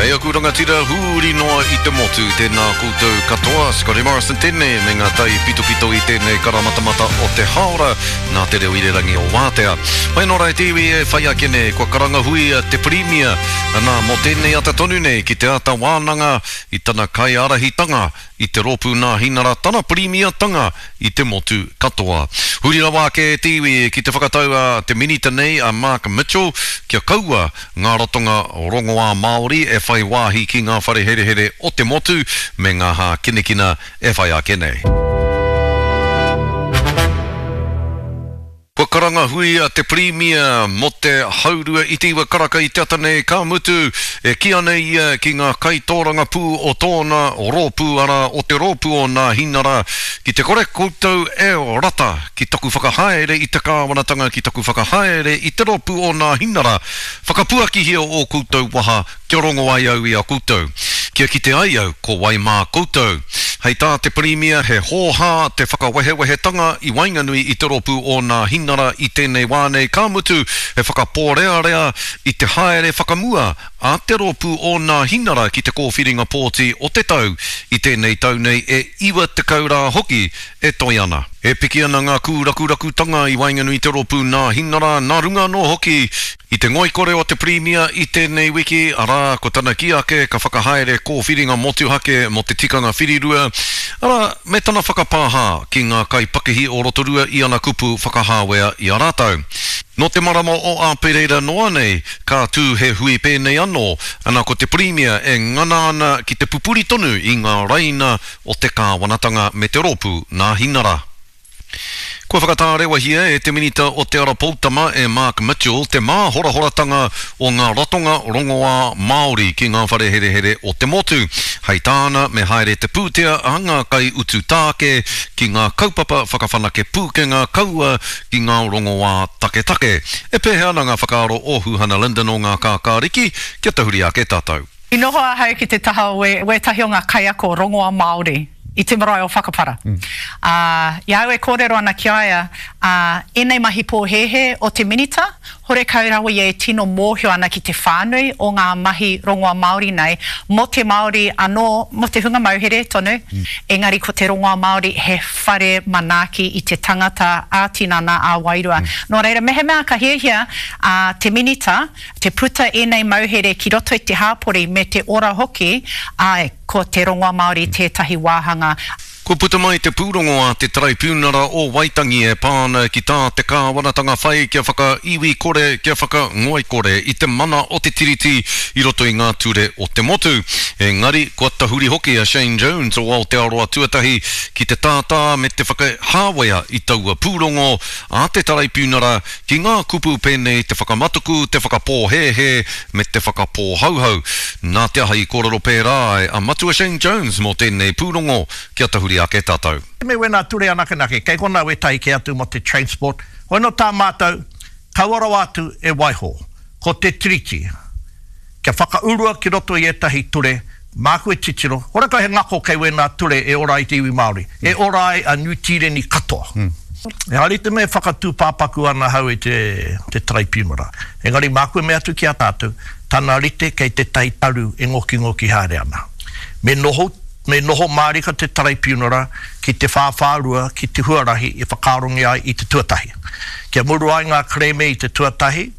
E aku rangatira huri noa i te motu, tēnā koutou katoa. Scotty Morrison tēnei me ngā tai pitopito i tēnei karamatamata o te haora nā te reo irerangi o Wātea. Mai nō rā e te iwi e whai ake nei, kua karangahuia te Pirimia, anā, mō tēnei ata tonu nei ki te āta wānanga i tana kaiārahitanga i te Rōpū Nāhinara tana Pirimiatanga i te motu katoa. Huri rawa ake e te iwi ki te whakatau a te Minita nei a Mark Mitchell kia kaua ngā ratonga rongoā Māori e whai wāhi ki ngā whare herehere o te motu me ngā hākinakina e whai ake nei. Kua karanga hui a te Pirimia mō te haurua i te iwa karaka i te ata nei, ka mutu, e kī ana ia ki ngā kaitōrangapū o tōna rōpū, arā, o te rōpū o Nāhinara, Ki te kore koutou e rata ki taku whakahaere i te kāwanatanga, ki taku whakahaere i te rōpū o Nāhinara, whakapuakihia ō koutou waha kia rongo ai au i a koutou, kia kite ai au ko wai mā koutou. Hei tā te Pirimia he hōhā te whakawehewehetanga i waenganui i te rōpū o Nāhinara i tēnei wā nei, ka mutu he whakapōrearea i te haere whakamua a te rōpū o Nāhinara ki te kōwhiringa pōti o te tau i tēnei tau nei e 90 rā hoki e toe ana. E piki ana ngā kūrakurakutanga i waenganui i te rōpū Nāhinara, nā runga anō hoki I te ngoikore o te Pirimia i tēnei wiki, arā, ko tana kī ake ka whakahaere kōwhiringa motuhake mō te tikanga whirirua, arā, me tana whakapāha ki ngā kaipakihi o Rotorua i ana kupu whakahāwea i a rātou. Nō te marama o Āpereira noa nei, ka tū he hui pēnei anō, ana ko te Pirimia e ngana ana ki te pupuri tonu i ngā raina o te kāwanatanga me te rōpū Nāhinara. Kua whakatārewahia e te Minita o Te Ara Poutama e Mark Mitchell te māhorahoratanga o ngā ratonga rongoā Māori ki ngā whare herehere o te motu. Hei tāna me haere te pūtea a ngā kaiutu tāke ki ngā kaupapa whakawhanake pūkenga kaua ki ngā rongoā taketake. E pēhea ana ngā whakaaro o Huhana Lyndon o Ngā Kākāriki? Kia tahuri ake tātou. I noho ahau ki te taha o wētahi o ngā kaiako rongoā Māori i te marae o Whakapara. Ā, i a au e kōrero ana ki a ia, ā, ēnei mahi pōhēhē o te Minita, horekau rawa ia e tino mōhio ana ki te whānui o ngā mahi rongoā Māori nei, mō te Māori anō, mō te hunga mauhere tonu, engari ko te rongoā Māori he whare manaaki i te tangata ā-tinana, ā-wairua. Nō reira, mehemea ka hiahia a te Minita te puta ēnei mauhere ki roto i te hāpori me te ora hoki, āe, ko te rongoa Māori tētahi wāhanga. Kua puta mai te pūrongo a te Taraipiunara o Waitangi e pā ana ki tā te kāwanatanga whai kia whakaiwi kore, kia whakangoikore i te mana o te Tiriti i roto i ngā ture o te motu. Engari, kua tahuri hoki a Shane Jones o Aotearoa Tuatahi ki te tātā me te whakahāwea i taua pūrongo a te Taraipiunara Ki ngā kupu pēnei te whakamatuku, te whakapōhēhē me te whakapōhauhau. Nā te aha i kōrero pērā ai a Matua Shane Jones mō tēnei pūrongo? Kia tahuri ake tātou. Me wena ture anakenake, kei kona wetahi ke atu mo te transport, hoi no ta matou, kaua rawa atu e waiho, ko te Tiriti, kia whakaurua ki roto i etahi ture, māku e titiro, horekau he ngako kei wēnā ture e ora ai te iwi Māori, e ora ai a Niu Tīreni katoa. Ehara i te mea e whakatūpāpaku ana ahau i te Taraipiunara, engari māku e mea atu ki a tātou, tana rite kei tētahi taru e ngokingoki haere ana. Me noho, me noho mārika te Taraipiunara ki te whāwhārua ki te huarahi i whakaarongia ai i te tuatahi. Kia muru ai ngā kerēme i te tuatahi,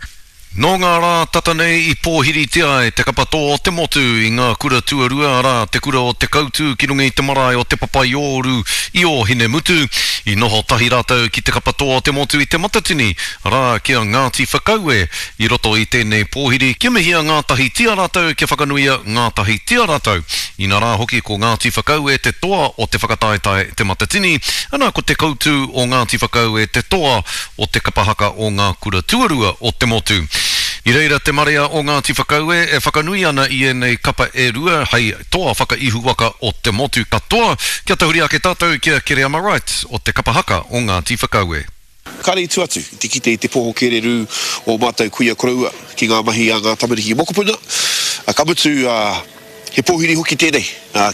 Nō ngā rā tata nei i pōhiritia ai te kapa tō o te motu i ngā kura tuarua, arā, te kura o Te Kautu ki runga i te marae o Te Papaiōru i Ōhinemutu. I noho tahi rātou ki te kapa tō o te motu i Te Matatini, arā, ki a Ngāti Whakaue i roto i tēnei pōhiri kia mihia ngātahitia rātou, kia whakanuia ngātahitia rātou. Inarā hoki ko Ngāti Whakaue te toa o te whakataetae Te Matatini, ana ko Te Koutu o Ngāti Whakaue te toa o te kapa haka o ngā kura tuarua o te motu. I reira te marea o Ngāti Whakaue e whakanui ana i ēnei kapa e rua hei toa whakaihuwaka o te motu katoa. Kia tahuri ake tātou ki a Kereama Wright o te kapa haka o Ngāti Whakaue. Kāre i tu atu i te kite i te poho kererū o mātou kuia koroua ki ngā mahi a ngā tamariki mokopuna. Ka mutu, He pōhiri hoki tēnei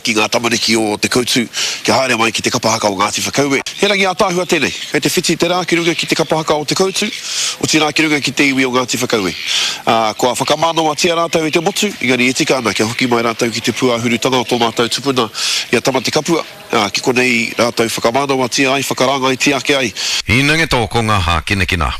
ki ngā tamariki o Te Koutu kia haere mai ki te kapa haka o Ngāti Whakaue. He rangi ātaahua tēnei, kei te whiti te rā ki runga ki te kapa haka o Te Koutu, otirā ki runga ki te iwi o Ngāti Whakaue. Ā, kua whakamānawatia rātou e te motu, engari e tika ana kia hoki mai rātou ki te pūāhurutanga o tō mātou tupuna i a Tamatekapua, ā, ki konei rātou whakamānawatia ai, whakarāngaitia ake ai. Hinangeto ko ngā hākinakina.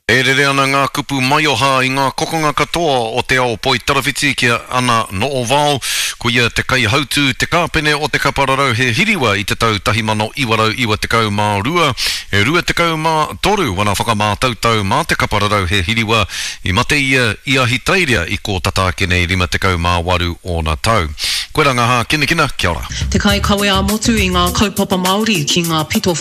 E rere ana ngā kupu maioha i ngā kokonga katoa o te ao poitarawhiti ki a Ana No'ovao, ko ia te kaihautū, te kāpene o te kapa rarauhe hiriwa i te tau 1992, e 23 wana whakamātautau mā te kapa rarauhe hiriwa, i mate ia i Ahitereiria i kō tata ake nei 58 ōna tau. Koirā ngā hākinakina, kia ora. Te kaikawe ā-motu i ngā kaupapa Māori ki ngā pito.